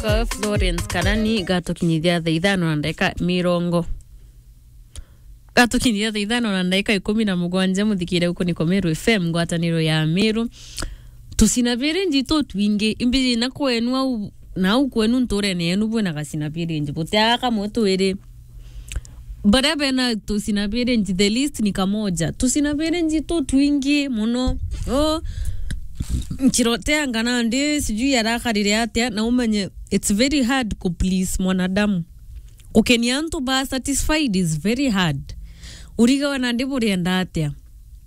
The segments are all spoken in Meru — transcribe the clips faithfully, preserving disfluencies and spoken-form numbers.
Florence Karani, gatukinyithia thaa ithano na ndagika mirongo. Gatukinyithia thaa ithano na ndagika ikumi na mugwanja, muthikire uku niko Meru F M, ngwataniro ya Meru. Tucina birinji tutwingi, imbiji na kwenu au, na au kwenu nturene yenu bwina gacina birinji. Butia kamwe twiri. Baria bena tucina birinji, the list ni kamoja. Tucina birinji tutwingi muno. Oh, nkiroteanga nandi, sijui arakarire atia, na umenye, it's very hard ku please mwanadamu. Gukenia antu ba satisfied is very hard. Urigawe nandi burienda atia?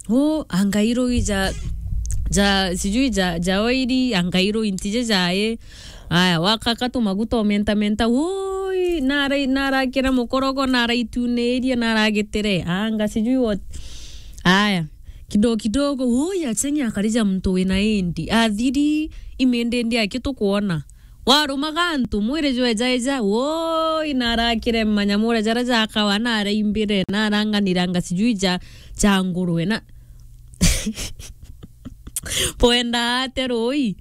Oh, anga irui ja, ja, sijui ja, ja oiri, anga irui ntije jae. Aya, wakaka tu maguta omenta menta, woi, narai-, narakira mukorogo, naraitunirie, naragitire, anga sijui what. Aya, kidogo kidogo, woi, achenge akarija muntu wina indi. Athiri, imende ndi aki tukwona. Warumaga antu, mwiri jwejaeja, woi, narakire manyamu uria jaria jakawa, naraimbire, naranganiranga sijui ja, ja ngurwe, na bwenda ate rui?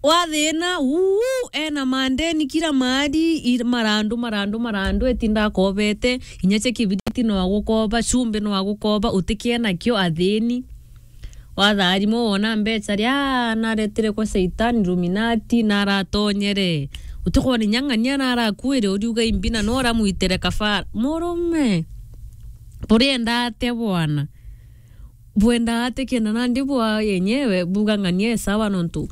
Wathina, uu, ena mandeni kila mahali, ir-, marandu, marandu, marandu, etinda akobete, inya cia kibiriti no agukoba, chumbi no agukoba, utikie nakio athini. Watharimo wona mbecha ria naretire kwa Satan Illuminati, naratonyere. Utikwona inya ng'ania narakuire, uriuga imbina no uramwitire kafara. Murume, burienda atia bwana? Bwenda atia kenda nandi bwa yenyewe, buga ng'ania e sawa nontu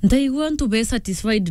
ntaigua antu be satisfied